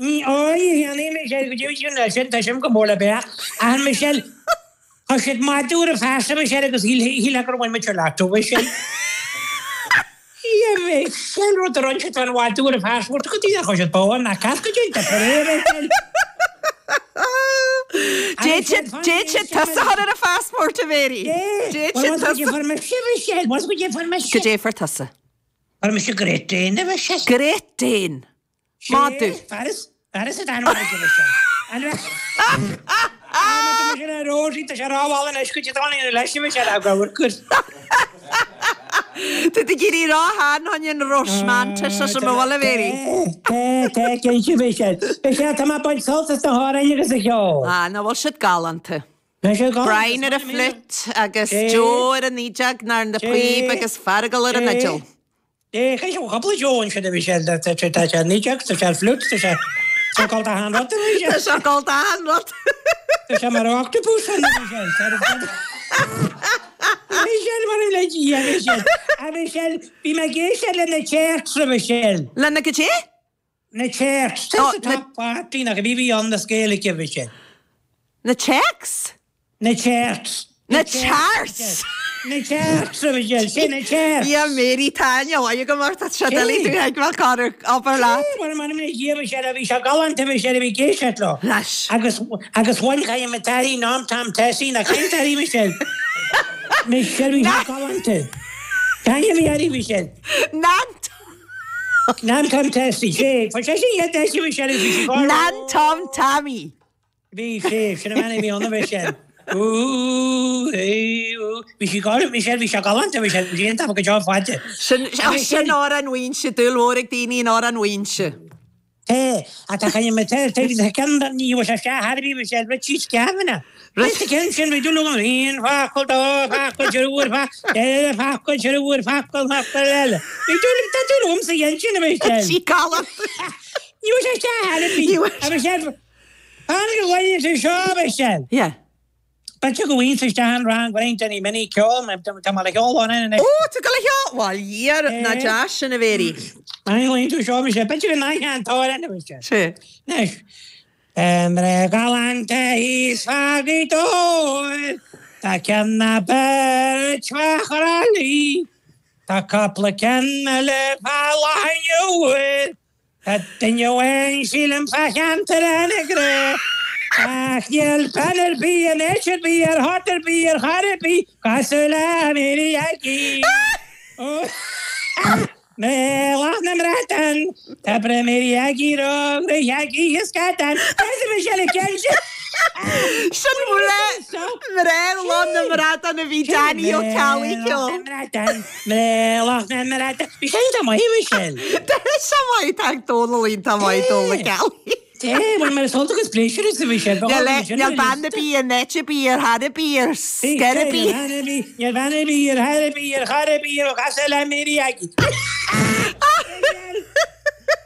Ní fhéadfaidh Michelle go dtí sin leis sin, tá sin go mór le béach. Ach Michelle, tá siad maith dúr a feasa Michelle agus shílfeá gur bhain muid ar leat ó Michelle. Ia Michelle, rud a rinne siad an mhaith dúr a feasa, go dtí nach raibh siad bán ach ceart go dtí tá purée Michelle. D'fhéadfadh siad tusa a chur ar a phassport a Mhéirí. D'fhéadfadh siad tusa. Go dté mise Michelle, go dté mise. Go dté tusa. Fuair mise Great Dane a Mhichelle. Great Dane. Madadh. Fearas, fearas an ainm a Mhichelle. Tá mise ar Rosie, tá sé rámhail anois go dtí dtáinig an leis a Mhichelle a gabhair cur. Tá tú ag iarraidh rá cheana féin an Roismeantais leis an bhfuil a Mhéirí. Tá, tá, cinnte Mhichelle. Michelle, tá mé ag baint sult as na hamhráin agus an cheol. Ah, nach bhfuil siad galánta. Brian ar an fliúit agus Joe ar an fhídeog nó ar na píob agus Feargal ar an fhidil. Tá cúpla Joe ansin a Mhichelle, tá sé ar an fhídeog, tá sé ar fliúit, tá sé ag gabháil d'achan rud a Mhichelle. Tá sé ag gabháil d'achan rud. Tá sé mar octopus a Mhichelle. A Mhichelle mar le Dia a Mhichelle. A Mhichelle, bhí mé ag éisteacht le na Charts a Mhichelle. Le na goidé? Na Charts. Tá sa top 40 nach bhí bhí ann na scéal aici Mhichelle. Na Checks? Na Charts. Na Charts! Na Charts a Mhichelle, sin na Charts. Yeah Mary, tá aithne mhaith agam ort, tá sé doiligh tú a thuigbheáil cár obair leat. Sé, mar man mé Dhia Mhichelle a bhí sé galánta Mhichelle a bhí ag éisteacht leo. Leis. Agus agus bhain chaith mé taithí Nam Tam Tessie na chaith taithí Mhichelle. Mhichelle bhí sé galánta. Caith mé air Mhichelle. Nan Nan Tom Tessie, sé, fa sé sin iad Tessie Mhichelle bhí sí gar. Nan Tom Tammy. Bhí sé, sin an bhean a bhí ann a Mhichelle. Ooh, hey, ooh. Bhí sí gar, Michelle, bhí sé galánta, Michelle, bhí sí iontach go deo fada. Sin, sin Amhrán Mhaínse, dúil mhór ag daoine in Amhrán Mhaínse. Té, ach tá chaine me te, te, te ceann den ní bhfuil sé isteach thar bhí Michelle, Richie Scavanagh. Rith ceann sin bhí dúil agam aon focal, dá focal, triúr focal, ceithre focal, triúr focal, focal eile. Bhí dúil, tá dúil agam sa cheann sin, a Michelle. Richie galánta. Ní bhfuil sé isteach thar bhí, a Michelle, Tháinig a bhaile sa seo, a Mhichelle. Yeah. B'fhéidir go bhfuigheann isteach an rang roinnt de na mini ceol, tá mé le cheol ann anois. Ó, tá tú le cheol! Bhuel, Dhia, ná deas sin a Mhéirí. An bhfuigheann tú seo, Michelle? B'fhéidir go n-aithneoidh an t-amhrán, a Mhichelle. Sea. Anois, mná galánta thíos fá Ghaoth Dobhair, tá ceann ná beirt fá Thrá Lí, tá cúpla ceann eile fá Loch an Iúir, Tá duine amháin sílim fá cheantar Anagaire ach níl bean ar bith in áit ar bith ar short ar bith ar chor ar bith cosúil le Mary Aggie. Mná Loch na mBradán, tá breith Mary Aggie ró-ghnóthach Aggie is scadán. Is é sin an ceann sin. Sin mná mná Loch na mBradán a bhí Danny Ó Ceallaigh ceol. Mná Loch na mBradán. Bhí sé iontach maith, Michelle. Tá sé maith, tá Dónal iontach maith, Dónal Ó Ceallaigh. Té, bhuel mar is iontach is pléisiúr is a bhí sé. Níl bean ar bith in áit ar bith ar chor ar bith ar scor ar bith. Níl bean ar bith ar chor ar bith ar chor ar bith a chosúil le Mary Aggie.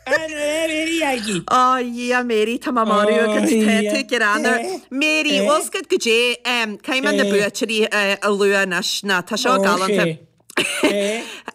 Mary Aggie. Ó Dhia Mary, tá mé marú agat, tá tú greannmhar. Mary, bhfuil 's agat goidé, caithfidh mé na buaiteoirí a lua anois, ná tá seo galánta.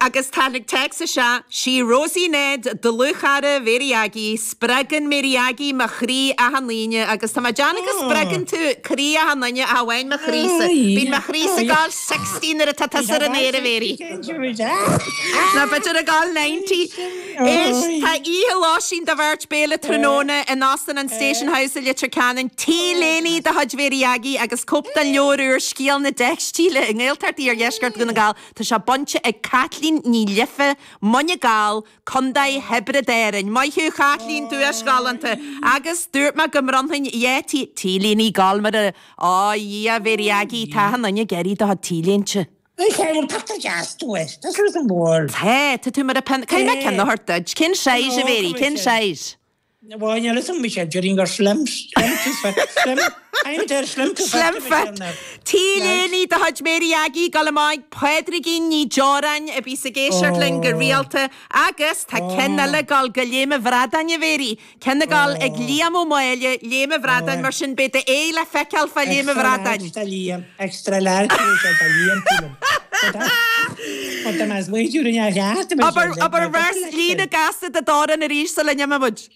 Agus tháinig téacs isteach, sí Rosie Ned, dlúthchara Mhary Aggie, spreagann Mary Aggie mo chroí achan Aoine agus tá mé ag déanamh go spreagann tú croí achan duine ach amháin mo chroísa. Bíonn mo chroísa ag gabháil 60 nuair atá tusa ar an aer a Mhary. Nó b'fhéidir ag gabháil 90. Éist, tá oíche lóistín do bheirt béile tráthnóna in Óstán an Station House i Leitir Ceanainn, T-léine de chuid Mhary Aggie agus cóip den leabhar úr Scéal na Teicstíle i nGaeltacht Iardheisceart Dhún na nGall. Tá sé bainte ag Caitlín Ní Life, Muine Gall, Contae Thiobraid Árann. Maith thú Chaitlín, duais ghalánta. Agus dúirt mé go mbronnfainn dhá T, T-léine gal mar a, á, Dhia, Mhary Aggie, tá achan duine ag iarraidh do chuid T-léinte. Is é bhfuil pictiúr deas duit. Tá suas an bord. Tá, tá tú mar a pin. Caithfidh mé ceann a thabhairt duit. Cén size a Mhéirí? Cén size? Bhuel, níl fhios agam, Michelle, déarfainn gur slim, slim to fit, slim, I'm there, slim to fit. Slim fit. T-léine de chuid Mary Aggie, ag dul amach ag Pádraigín Ní Deoráin a bhíos ag éisteacht linn go rialta agus tá ceann eile ag dul go Léim an Bhradáin a Mhéirí. Ceann ag dul ag Liam Ó Máille, Léim an Bhradáin, mar sin beidh d'aghaidh le feiceáil fá Léim an Bhradáin. Extra large do Liam, extra large do Liam, sílim. But tá mé ag smaointiú ar an fhear cheart, Abair, abair véarsa líne gasta de d'amhrán arís sula n-imeoidh muid.